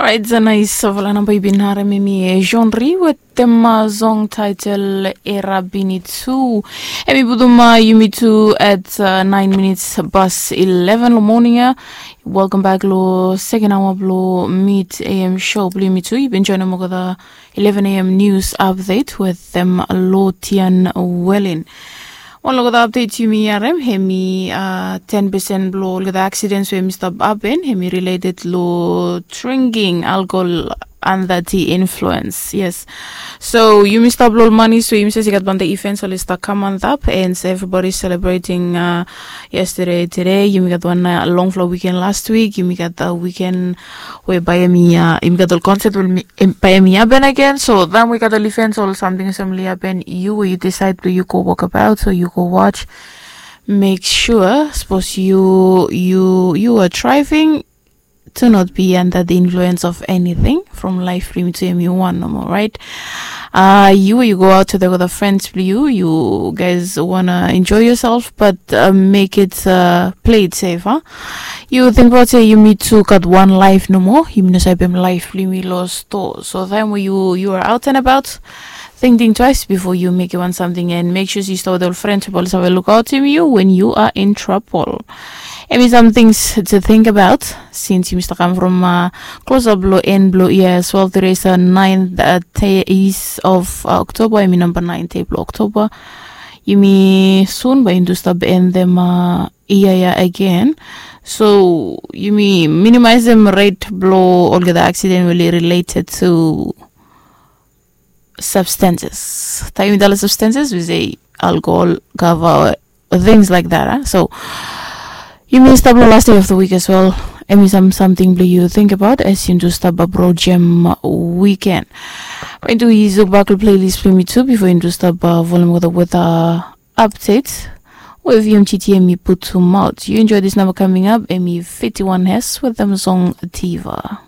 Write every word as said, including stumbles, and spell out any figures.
Right, a nais, a vala namba yu bin harem em i Jean Ri wetem song title Era Bini Tu. Em i putum yumi tu at nine minutes past eleven lo morning ya. Welcome back lo second hour blo mid A M show blo yumi tu. Yu bin joinim olgeta eleven A M news update wetem Lotian Welin. Wan lo olgeta update yumi harem, em i ten percent blo olgeta accidents we yumi stap happen em i related lo drinking alcohol under the influence. Yes. So yumi stap lo ol manis we yumi save i gat banta events oli stap kam antap, and so everybody celebrating uh, yesterday, today. Yumi gat wan uh, long flo weekend last week. Yumi gat a weekend we bae em i uh, yumi gat ol concert we bae em i happen again. So taem we gat ol events, ol samting olsem oli happen, yu we yu decide blo yu go walkabout, so yu go watch. Make sure, sapos yu yu yu are driving, to not be under the influence of anything from life blo yumi tu em i wan nomo, right? Uh, yu yu go out to the other friends blo yu, you guys wanna enjoy yourself, but uh, make it uh, play it safe, huh? Yu tingbaot se yumi tu gat wan life nomo, yumi no save pem life blo yumi lo store. So taem we yu you are out and about, think think twice before you make wan samting, and make sure yu stap wetem ol friends we oli save lukautim yu when you are in trouble. Em i some things to think about since yumi stap kam from uh, close up blo en blo ia as well. Today is uh, ninth uh, days of uh, October. Em i namba nine day blo October. Yumi sun bae yumi tu stap endem uh, ia ya again. So yumi minimize dem rate blo olgeta accident we oli related to substances. Taem yumi talem substances, we say alcohol, kava, or things like that, huh? So yumi stap lo last day of the week as well. Em i some samting blo yu tingbaot as yumi tu stap bro jem weekend. Bae yumi tu yu bak lo playlist blo yumi tu bifo yumi tu stap uh, volum wetem weather update we V M G T em i putumaot. Yu enjoy this number coming up, em i fifty-one has wetem song Diva.